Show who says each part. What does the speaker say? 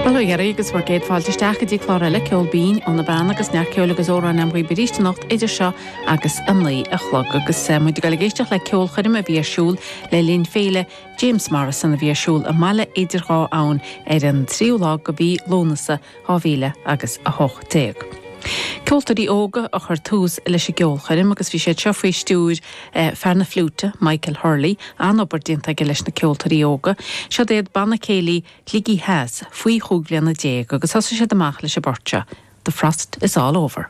Speaker 1: Bhuel, a dheiridh agus bhur gcéad fáilte isteach go dtí clár eile Ceol Binn ó na Beanna agus neart ceoil agus amhráin agam dhaoibh arís anocht idir seo agus a 9 a chlog agus muid ag dul ag éisteacht le ceolchoirm a bhí ar siúl le linn Féile James Morrison a bhí ar siúl i mBaile Idir Dhá Abhainn ar an tríú lá de mhí Lúnasa 2000 agus 18. Ceoltóirí óga a chuir tús leis an gceolchoirm agus bhí siad seo faoi stiúir fear na fliúite, Michael Hurley, an-obair déanta aige leis na ceoltóirí óga. Siod iad Banna Céilí Shligigh Theas faoi chúig bhliana déag agus thosaigh siad amach leis an bport seo, The Frost Is All Over.